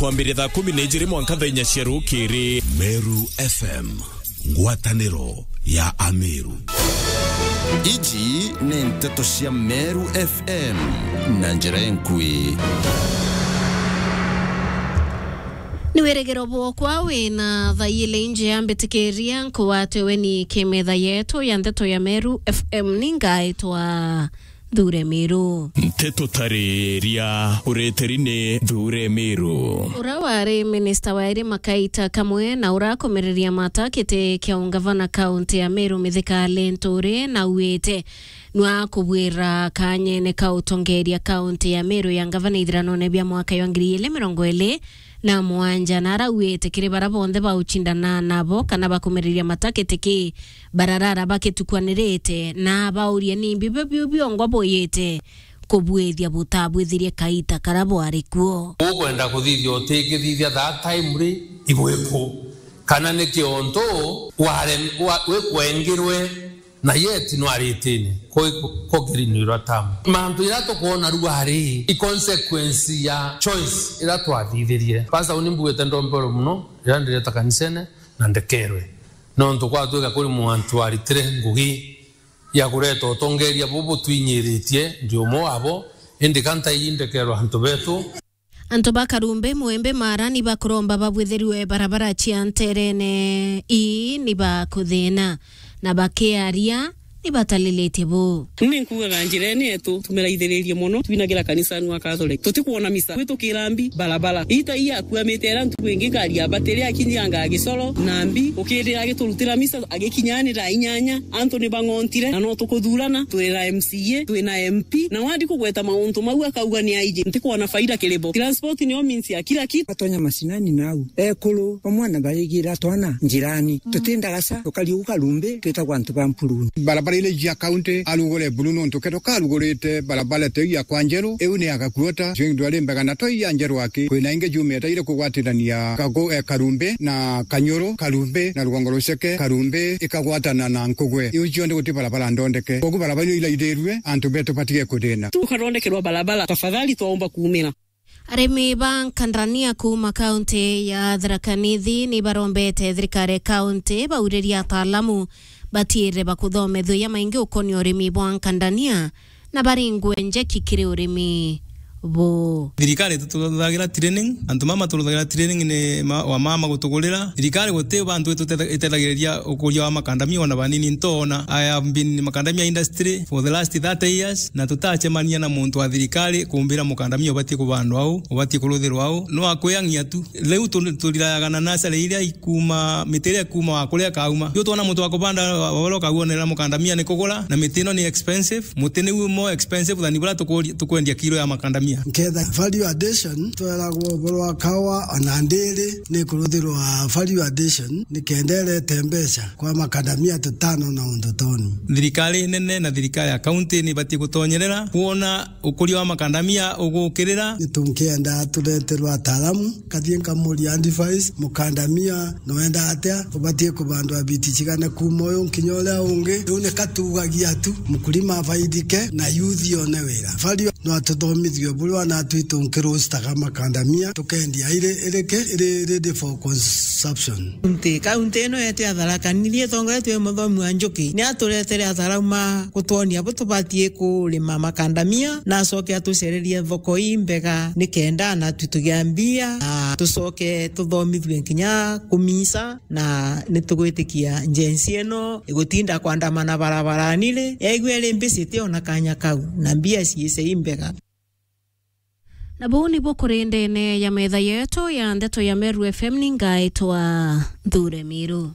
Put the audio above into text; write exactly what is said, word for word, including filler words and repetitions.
Kwambiria thaa kumi na ijiri mwanka thaa inya cia rukiri. Meru F M, ngwataniro ya Ameru. Iji ni nteto cia Meru F M na njira enkui. Ni wirigiro bwokwa wina thaa ili injea, mbitikiria nkugwate ugeni ki metha yetu ya nteto ya Meru F M. Ni ngaitwa Nthure Miru. Nteto tariria ureteri ni Nthure Miru. Ura wari minista wa irima kaita kamwe na urakomereria mata kiti kia ungavana kaunti ya Meru, Mithika Linturi, nauite nwakubwira kanyene ka utongeria kaunti ya Meru ya ngavana ithiranone bia mwaka ya ngiri ili mirongo ili na mwanja, na arauite kiri bara bonthe baucindana nabo kana bakumereria mata kiti ki bararara bakitukwanirite, na abauria nimbi biu biongwa buyite kubwithia butabwithirie kaita kara bwari kuo. Ukwenda kuthithia utikithithia that time ri, igwiku? Kana ni kiontu ware-, wa-, wikwengirwe na yet nwaritine ko-, ko-, kogirinirwa tamu. Mantu ira tukwona rua ri, i consequence ya choice ira twathithirie. Pastor, uni mbugite ndombero muno ira ndireta kanisene na ndekerwe. Nontu kwatwika kuri mwantu waritire ngugi ya kureta utongeria bubu twinyiritie, ndi umwe wabo, indi ka ntaiji ndekerwa antu betu. Antu ba Karumbe, Mwembe, Mara ni bakuromba babwithirue barabara cia nterene ii ni bakuthina, na bakiaria ni batalilitie bu. Ni nkugaga njirene yetu tumeraithiririe mono, twinagira kanisani wa Catholic. Tutikwona misa, gwitukira mbi barabara. Ita iya akuamite era ntuku ingi ngari ya batiri akinyanga Gisoro na mbi, ukirira agiturutira misa agikinya ni thaa inyanya. Antu ni bang'ontire, na no tukuthurana, twina M C A, twina M P, na wandi kugweta mauntu mau akauga ni aiji. Ntikwona faida kiri bo. Transport niyo means ya kila kitu. Batonya macinani nau, ekuru bamwe na barigira twana njirani. Tuti ndagasa, tukari ugu Karumbe, twitagwa antu ba Mpuruni. Barabara ile cia kaunti arugure buru nontu kethirwa karugurite barabara teu ya kwa Njeru, iu ni ya Gakuota, cio ndwari mbega na toi ya Njeru aki. Kwina ingi jumite iri kugwatirania Kagu-, eh, Karumbe na Kanyuru, Karumbe na Rugongo Ruceke, Karumbe ikagwatana na Nkugwe. Iu cionthe guti barabara ndondeke. Kogu barabara iu iraithirue, antu betu batige kuthina. Tukathondekerwa barabara, tafadhali twaomba kuumira. Arimi ba nkandania kuuma kaunti ya Tharaka Nithi ni barombete thirikari ya kaunti bauririe ataalamu batiire bakuthomethua jamaingi ukonia urimi bwa nkandania na baringwe njeki kiri urimi buu. Thirikari itututhagira training, antu mama turuthagira training ni ma-, wa mama gutugurira. Thirikari guti bantu itutethagiriria ukuria wa makandamia ona banini ntoona. I have been in makandamia industry for the last thirty years, na tutacemania na muntu wa thirikari kumbira mukandamia ubatie kubandwa au, ubatie kuruthirwa au. No akwiyang'ia tu. Riu tu-, turirayaga na nasari iria ikuma, miti iria ikuma wa kuria kauma. Riu twona muntu wa kubanda wa, wa, wa kaguonera mukandamia ni kugura, na miti ino ni expensive. Muti niu more expensive than buria tukuri-, tukwendia kilo ya makandamia. Nketha value addition, tweragwo uboro wa kawa ona ndiri ni kuruthirwa value addition, ni kenda irete mbeca kwa makandamia tutano na undu toni. Thirikari nene na thirikari ya kaunti ni ibatie gutonyerera kwona ukuria wa makandamia ugukirira. Ni tunkienda tureterwe ataalamu, kathie nkamuria advice, mukandamia nwenda atia, ubatie kubandwa biti cigana kuuma uyu nkinya uria ungi. Riu ni katugagia tu, mkulima afaidike na youth one wira. Value no atuthomithue buria wana twitu nkirustaga makandamia, tukendia iri, iri ki, iri ready for consumption. Nti, kaunti ino yetu ya Tharaka Nithi itongoretue ni muthomi wa Njuki, ni aturetere ataalamu ma gutwonia bu tubatie kurima makandamia, na acoke atucererie thoko imbega, ni kenda na tu tugia mbia, na tucoke tuthomithue nkinya kumisa, na ni tugwitikia njensi ino igutinda kwandamana barabarani ri, yaigue iri mbicite ona kanya kau, na mbia ciice imbega. Na buu nibu kuri ndene ya metha yetu ya ndeto ya Meru F M, ni ngaitwa Nthure Miru.